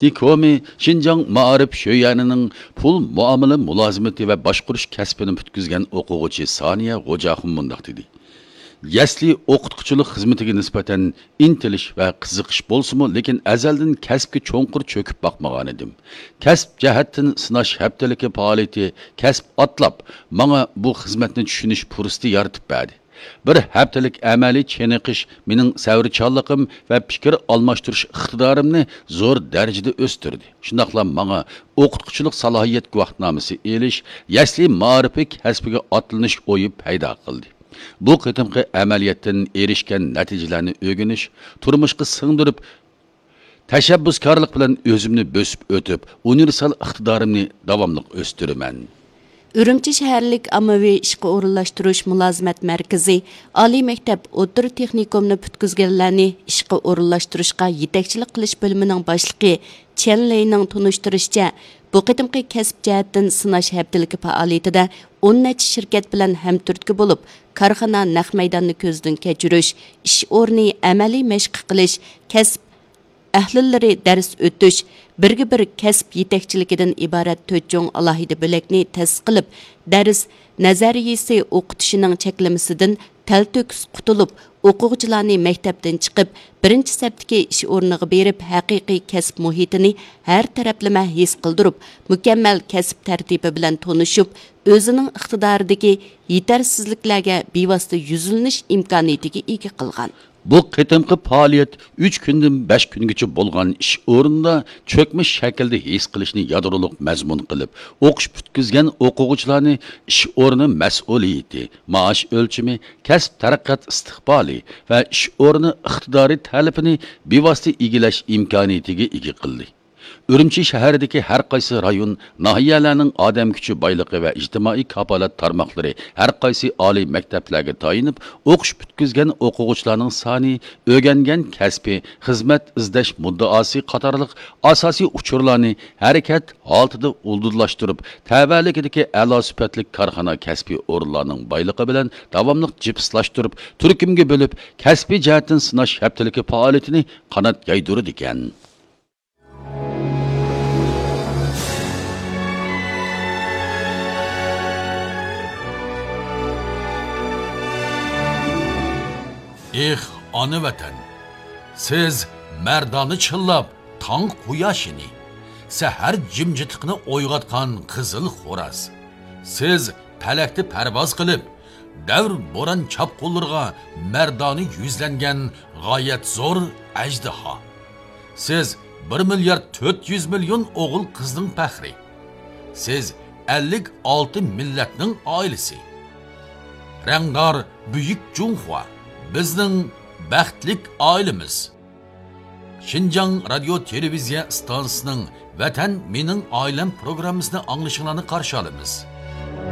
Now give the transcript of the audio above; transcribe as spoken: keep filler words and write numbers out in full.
دىكومى شىنجاڭ مائارىپ شۆيۈەنىنىڭ پۇل مۇئامىلە مۇلازىمىتى ۋە باشقۇرۇش كەسپىنى پۈتكۈزگەن ئوقۇغۇچى سانىيە غوجاخۇن مۇنداق دېدى: يەسلى ئوقۇتقۇچىلىق خىزمىتىگە نىسبەتەن ئىنتىلىش ۋە قىزىقىش بولسىمۇ، لېكىن ئەزەلدىن كەسىپكە چوڭقۇر چۆكۈپ باقمىغانىدىم. كەسىپ جەھەتتىن سىناش ھەپتىلىكى پائالىيىتى، كەسىپ ئاتلاپ، ماڭا بۇ خىزمەتنى چۈشىنىش پۇرسىتى يارىتىپ بەردى. بىر ھەپتىلىك ئەمەلىي چېنىقىش مېنىڭ سەۋرچانلىقىم ۋە پىكىر ئالماشتۇرۇش ئىقتىدارىمنى زور دەرىجىدە ئۆستۈردى. شۇنداقلا ماڭا ئوقۇتقۇچىلىق سالاھىيەت گۇۋاھنامىسى ئېلىش، يەسلى مائارىپى كەسپىگە ئاتلىنىش ئويى پەيدا قىلدى. بۇ قېتىمقى ئەمەلىيەتتىن ئېرىشكەن نەتىجىلەرنى ئۆگىنىش، تۇرمۇشقا سىڭدۈرۈپ، تەشەببۇسكارلىق بىلەن ئۆزۈمنى بۆسۈپ ئۆتۈپ، ئۇنىۋېرسال ئىقتىدارىمنى داۋاملىق ئۆستۈرىمەن. ئۈرۈمچى شەھەرلىك ئاممىۋى ئىشقا ئورۇنلاشتۇرۇش مۇلازىمەت مەركىزى ئالىي مەكتەپ، ئوتتۇرا تېخنىكومنى پۈتكۈزگەنلەرنى ئىشقا ئورۇنلاشتۇرۇشقا يېتەكچىلىك قىلىش بۆلۈمىنىڭ باشلىقى چيەن لېينىڭ تونۇشتۇرۇشىچە، بۇ قېتىمقى كەسىپ جەھەتتىن سىناش ھەپتىلىكى پائالىيىتىدە ئون نەچچە شىركەت بىلەن ھەمتۈرتكە بولۇپ، كارخانا نەق مەيداننى كۆزدىن كەچۈرۈش، ئىش ئورنى ئەمەلىي مەشىق قىلىش، كەسىپ ئەھلىلىرى دەرس ئۆتۈش، بىرگە بىر كەسىپ يېتەكچىلىكىدىن ئىبارەت تۆت چوڭ ئالاھىدە بۆلەكنى تەسىس قىلىپ، دەرس نەزەرىيىسى ئوقۇتۇشىنىڭ چەكلىمىسىدىن تەلتۆكۈس قۇتۇلۇپ، ئوقۇغۇچىلارنى مەكتەپتىن چىقىپ، بىرىنچى سەپتىكى ئىش ئورنىغا بېرىپ، ھەقىقىي كەسىپ مۇھىتىنى ھەر تەرەپلىمە ھېس قىلدۇرۇپ، مۇكەممەل كەسىپ تەرتىپى بىلەن تونۇشۇپ، ئۆزىنىڭ ئىقتىدارىدىكى يېتەرسىزلىكلەرگە بىۋاسىتە يۈزلىنىش ئىمكانىيىتىگە ئىگە قىلغان. بۇ قېتىمقى پائالىيەت ئۈچ كۈندىن بەش كۈنگىچە بولغان ئىش ئورنىدا چۆكمە شەكىلدە ھېس قىلىشنى يادرولۇق مەزمۇن قىلىپ، ئوقۇش پۈتكۈزگەن ئوقۇغۇچىلارنى ئىش ئورنى مەسئۇلىيىتى، مائاش ئۆلچىمى، كەسىپ تەرەققىيات ئىستىقبالى ۋە ئىش ئورنى ئىقتىدارى تەلىپىنى بىۋاسىتە ئىگىلەش ئىمكانىيىتىگە ئىگە قىلدى. ئۈرۈمچى شەھىرىدىكى ھەر قايسى رايون، ناھىيەلەرنىڭ ئادەم كۈچى بايلىقى ۋە ئىجتىمائىي كاپالەت تارماقلىرى ھەر قايسى ئالىي مەكتەپلەرگە تايىنىپ، ئوقۇش پۈتكۈزگەن ئوقۇغۇچىلارنىڭ سانى، ئۆگەنگەن كەسپى، خىزمەت ئىزدەش مۇددىئاسى قاتارلىق ئاساسىي ئۇچۇرلارنى ھەرىكەت ھالىتىدە ئۇلدۇرلاشتۇرۇپ، تەۋەلىكىدىكى ئەلا سۈپەتلىك كارخانا كەسپىي ئورۇنلارنىڭ بايلىقى بىلەن داۋاملىق جىپسلاشتۇرۇپ، تۈركۈمگە بۆلۈپ، كەسپىي جەھەتتىن سىناش ھەپتىلىكى پائالىيىتىنى قانات يايدۇرىدىكەن. ئېھ، ئانا ۋەتەن! سىز مەردانە چىللاپ تاڭ قۇياشىنى، سەھەر جىمجىتلىقىنى ئويغاتقان قىزىل خوراز. سىز پەلەكتە پەرۋاز قىلىپ، دەۋر بوران چاپقۇنلىرىغا مەردانە يۈزلەنگەن غايەت زور ئەجدىھا. سىز بىر مىليارد تۆت يۈز مىليون ئوغۇل قىزنىڭ پەخرى. سىز ئەللىك ئالتە مىللەتنىڭ ئائىلىسى. رەڭدار بۈيۈك جۇڭخۇا، بىزنىڭ بەختلىك ئائىلىمىز. شىنجاڭ رادىيو تېلېۋىزىيە ئىستانسىسىنىڭ ۋەتەن مېنىڭ ئائىلەم پروگراممىسىنى ئاڭلىشىڭلارنى قارشى ئالىمىز.